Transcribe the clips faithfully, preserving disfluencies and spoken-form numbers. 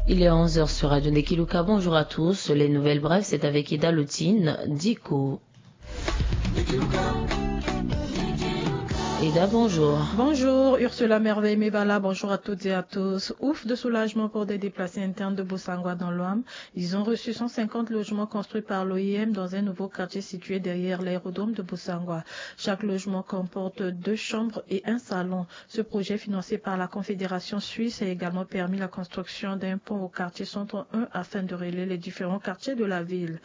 Il est onze heures sur Radio Ndekiluka. Bonjour à tous. Les nouvelles brèves, c'est avec Ida Lutine Diko. Ida, bonjour. Bonjour, Ursula Merveille Mebala. Bonjour à toutes et à tous. Ouf de soulagement pour des déplacés internes de Bossangoa dans l'Ouham. Ils ont reçu cent cinquante logements construits par l'O I M dans un nouveau quartier situé derrière l'aérodrome de Bossangoa. Chaque logement comporte deux chambres et un salon. Ce projet financé par la Confédération suisse a également permis la construction d'un pont au quartier Centre un afin de relier les différents quartiers de la ville.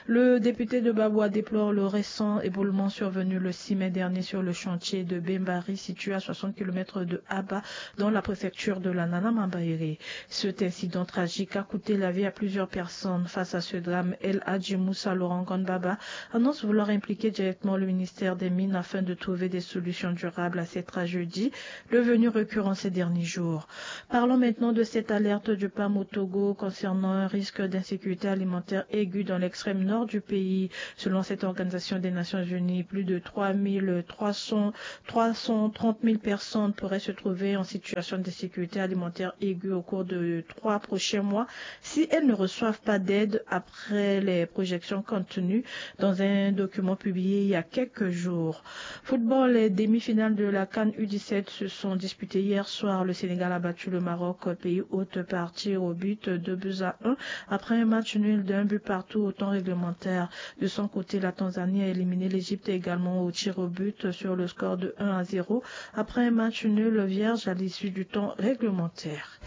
Le député de Babwa déplore le récent éboulement survenu le six mai dernier sur le chantier de Bembari, situé à soixante kilomètres de Aba, dans la préfecture de la Nana Mambaere. Cet incident tragique a coûté la vie à plusieurs personnes. Face à ce drame, El Hadji Moussa Laurent Gonbaba annonce vouloir impliquer directement le ministère des Mines afin de trouver des solutions durables à cette tragédie devenue récurrente ces derniers jours. Parlons maintenant de cette alerte du PAM au Togo concernant un risque d'insécurité alimentaire aiguë dans l'extrême nord du pays. Selon cette organisation des Nations Unies, plus de trois mille trois cents, trois cent trente mille personnes pourraient se trouver en situation d'insécurité alimentaire aiguë au cours de trois prochains mois si elles ne reçoivent pas d'aide, après les projections contenues dans un document publié il y a quelques jours. Football, les demi-finales de la CAN U dix-sept se sont disputées hier soir. Le Sénégal a battu le Maroc, pays hôte, par tir au but, deux buts à un, après un match nul d'un but partout au temps réglementaire. De son côté, la Tanzanie a éliminé l'Égypte également au tir au but sur le score de un à zéro, après un match nul vierge à l'issue du temps réglementaire.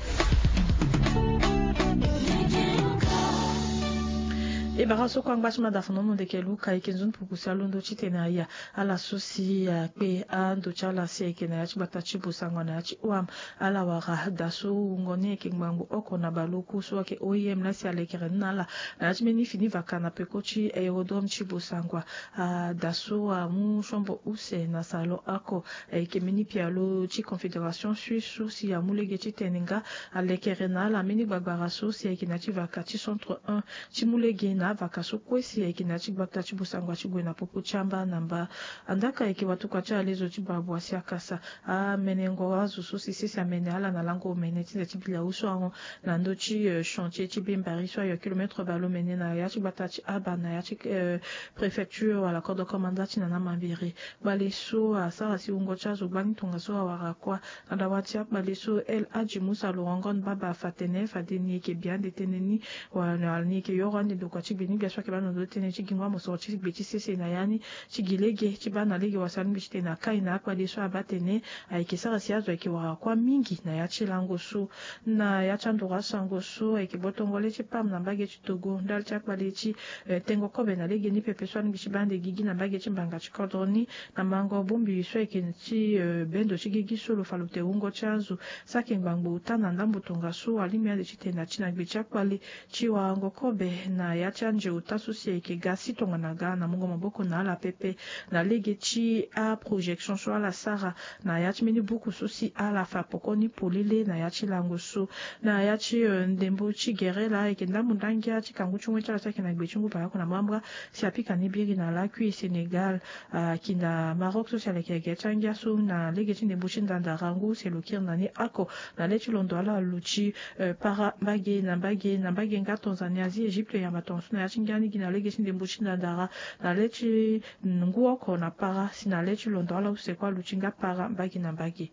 E bara so kue angba ti mada fanono ndeke luka eke nzoni puku si alondo titene aya ala so si akpe ando ti ala si ayeke na ya ti gbata ti Bossangoa na ya ti Ouham. Ala wara da so wungo ni ayeke ngbangbo oko na baleoku so ayeke O I M laa si alekere ni na ala na ya ti mbeni fini vaka na peko ti aérodrome ti Bossangoa. Ah, da so amu siombo use na salon oko. Ayeke mbeni pialo ti Confédération suisse so si amu lege titene nga alekere na ala mbeni gbagbara so si ayeke na ya ti vaka ti Centre un ti mu lege na avaka so kue si ayeke na ya ti gbata ti Bossangoa ti gue na popo ti amba na mba. Andaka ayeke watokua ti alezo ti Babwa si akasa amenengo azo so si sese amene ala na lango omene ti nze ti bilawu so ahon na ndö ti, eh, chantier ti Bembari so ayo kilomètre baleomene na ya ti gbata ti Aba na ya ti, eh, préfecture wala corps de commandant ti Nana Mambere. Kpale so asara si wungo ti azo gbani tongaso awara kuâ. Na dawa ti akpale so El Hadji Moussa Laurent Gonbaba afa tene fade ni eke bi ande tënë ni wala ni eke yoro ande ndokua ti gbe ni gbia so ayeke baa na ndo tënë ti gingo amosoro ti gbe ti sese na ya ni ti gi lege ti baa na lege wala si alingbi titene akai na akpale so abaa tene ayeke sara si azo ayeke wara kuâ mingi na ya ti lango so. Na ya ti andoro asango so ayeke gbotongo le ti pam na mbage ti Togo ndali ti akpale ti, eh, tengo kobe na legeni pepe so alingbi ti baa ande gigi na mbage ti mbanga ti kodro ni na mango bongbi so ayeke ti, eh, bendo ti gigi so lo fa lo te wungo ti azo. Saki ngbangbo ota na ndambo tongaso alingbi ande titene ati na gbe ti akpale ti warango kobe na ya ti anze ota so si ayeke ga si tongana ga na mungo maboko na ala pepe na lege ti aprojection so ala sara na ya ti mbeni buku so si ala fa pokoni polele na ya ti lango so. Na ya ti, eh, ndembo ti gere laa ayeke ndambo ndangia ti kangu ti ngoi ti ala so ayeke na gbe ti ngu baleoko na mbrambra si apika ni biri na lakui Sénégal, ah, ayeke na Maroc so si aleke gere ti angia so na lege ti ndembo ti ndandara ngu si lo kiri na ni oko na le ti londo ala lo ti, eh, para mbage na mbage na mbage nga Tanzanie, Asie, Égypte, yamba tongaso na ya ti ngia ni gi na lege ti ndembo ti ndandara na le ti ngu oko na para si na le ti londo ala use kue aluti nga para mbage na mbage.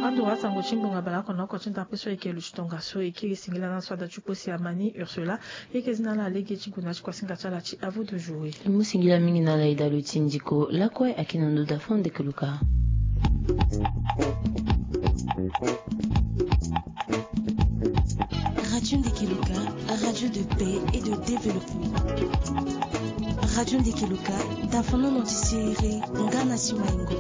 Ando asango ti ngbonga baleoko na oko ti ndapre so ayeke luti tongaso e kiri singila na so ada ti kpo si amani Ursula. E yeke zi na ala lege ti gue na ya ti kuasinga ti ala ti Avo de Jour. Mu singila mingi na ala Ida Lutine Diko lakue ayeke na ndo da fo ndeke luka. Radio Ndekeluka, radio de paix et de développement. Radio Ndekeluka, dafonono ti siriri nga na ti maingo.